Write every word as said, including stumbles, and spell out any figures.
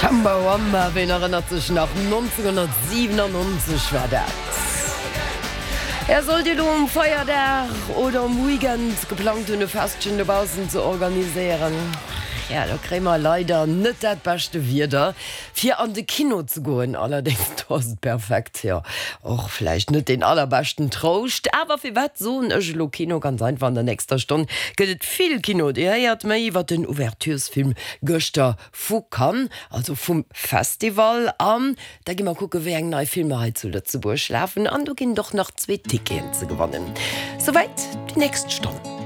Chumbawamba, ween erënnert sech nach, nonzénghonnertsiwenannonzeg war dat. Ja, sollt Dir elo um Feierdag oder um Weekend geplangt hunn e Festchen dobaussen ze organiséieren, ja, do kréie mer leider net dat beschte Wieder fir an de Kino ze goen. Allerdéngs, do ass et perfekt, jo, och vläicht net deen allerbeschten Trouscht. Awer firwat soen ech elo Kino? Ganz einfach, an der nächster Stonn gëtt et vill Kino. Dir héiert méi iwwer den Ouverturesfilm gëschter vu Cannes, also vum Festival. An da gi mer kucke wéi eng nei Filmer hei zu Lëtzebuerg lafen. An do ginn et och nach zwee Ticketen ze gewannen. Souwäit déi nächst Stonn.